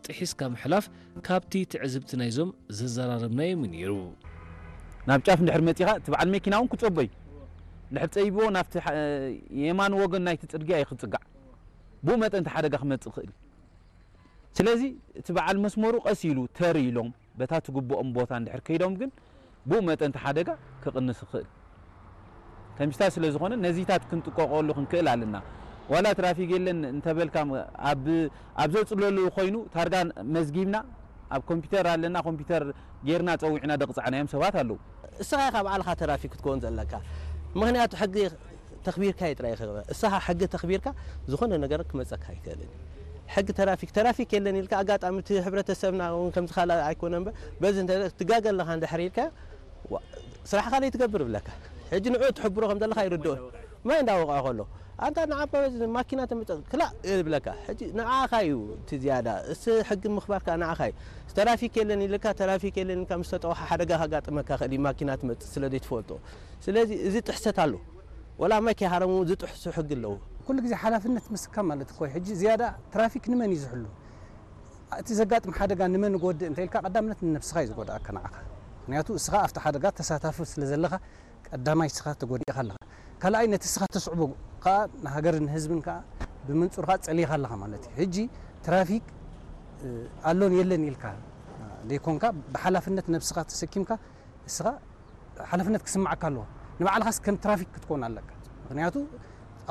ጥሒስካ ምሕላፍ ካብቲ ትዕዝብቲ ናይዞም ዘዘራረብናዮም እዩ ነይሩ። ናብ ጫፍ እንድሕር መጺኻ እቲ በዓል መኪና እውን ክጸቦ እዩ። እንድሕር ጸይብዎ ናብቲ የማን ወገን ናይቲ ጽርግያ እዩ ክጽጋዕ። ብኡ መጠን እቲ ሓደጋ ክመጽእ ይኽእል። ስለዚ እቲ በዓል መስመሩ ቀስ ኢሉ ተር ኢሎም በታ ትግብኦም ቦታ እንድሕር ከይዶም ግን ብኡ መጠን እቲ ሓደጋ ክቕንስ ይኽእል። ተምሽታ ስለ ዝኾነ ነዚታት ክንጥቀቐሉ ክንክእል ኣለና። ዋላ ትራፊክ የለን እንተበልካ ኣብ ኣብ ዘጽለሉ ኮይኑ ታርጋ መዝጊብና ኣብ ኮምፒውተር ኣለና ኮምፒውተር ጌርና ጸዊዕና ደቕጻዕናዮም ሰባት ኣለዉ። እስኻ ኢኻ ባዕልኻ ተራፊክ ክትከውን ዘለካ። ምኽንያቱ ሕጊ ተኽቢርካ እዩ ጥራይ ክግበር። እስኻ ሕጊ ተኽቢርካ ዝኾነ ነገር ክመጸካ ኣይክእልን። ሕጊ ተራፊክ ተራፊክ የለን ኢልካ ኣጋጣሚ እቲ ሕብረተሰብና እውን ከምዚ ካልእ ኣይኮነ እምበር በዚ እንተ ትጋገ ኣለኻ እንድሕር ኢልካ ስራሕኻ ለይትገብር ብለካ ሕጂ ንዑ ትሕብሮ ከም ዘለካ ይርድኦ ማይ እንዳወቕዖ ከሎ ኣንታ ንዓባ ማኪና ተምፀ ክላእ ይብለካ ሕጂ ንዓኻ እዩ እቲ ዝያዳ እስ ሕጊ ምኽባርካ ንዓኻ እዩ ተራፊክ የለን ኢልካ ተራፊክ የለን ኢልካ ምስ ተጠውሓ ሓደጋ ከጋጥመካ ክእል እዩ ማኪና ትመፅእ ስለ ዘይትፈልጦ ስለዚ እዚ ጥሕሰት ኣሎ ወላ ማይ ከይሃረሙ ዝጥሕሱ ሕጊ ኣለዉ ኩሉ ግዜ ሓላፍነት ምስካ ማለት እኮ ሕጂ ዝያዳ ትራፊክ ንመን እዩ ዝሕሉ እቲ ዘጋጥም ሓደጋ ንመን ይጎድእ እንተ ኢልካ ቀዳምነት ንነብስኻ እዩ ዝጎድኣካ ንዓኻ ምክንያቱ እስኻ ኣብቲ ሓደጋ ተሳታፊ ስለ ዘለኻ ቀዳማይ እስኻ ተጎዲእኻ ኣለኻ ካልኣይ ነቲ እስኻ ተስዕቦ ከዓ ንሃገርን ንህዝብን ከዓ ብመንፁር ከዓ ፀሊኻ ኣለኻ ማለት እዩ ሕጂ ትራፊክ ኣሎን የለን ኢልካ ዘይኮንካ ብሓላፍነት ነብስኻ ተሰኪምካ እስኻ ሓላፍነት ክስምዓካ ኣለዎ ንባዕልኻስ ከም ትራፊክ ክትኮን ኣለካ ምክንያቱ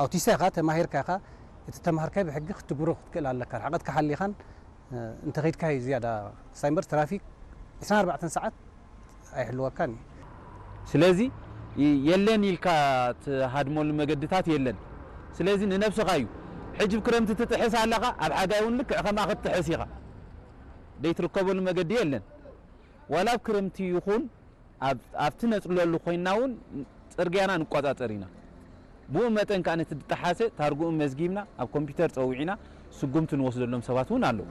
ኣውቲስታ ኢኻ ተማሂርካ ኢኻ እቲ ተማሃርካይ ብሕጊ ክትግብሮ ክትክእል ኣለካ ርሕቀትካ ሓሊኻን እንተኸይድካ እዩ ዝያዳ ክሳይ እምበር ትራፊክ 24 ሰዓት ኣይሕልወካን እዩ ስለዚ የለን ኢልካ ትሃድመሉ መገድታት የለን ስለዚ ንነብስኻ እዩ ሕጂ ብክረምቲ ትጥሕስ ኣለኻ ኣብ ሓጋይ እውን ልክዕ ከምኣ ክትጥሕስ ኢኻ ደይትርከበሉ መገዲ የለን ዋላ ኣብ ክረምቲ ይኹን ኣብቲ ነፅለሉ ኮይና እውን ፅርግያና ንቆፃፀር ኢና ብኡ መጠን ከዓ ነቲ ዝጠሓሰ ታርግኡ መዝጊብና ኣብ ኮምፒውተር ፀዊዕና ስጉምቲ ንወስደሎም ሰባት እውን ኣለዉ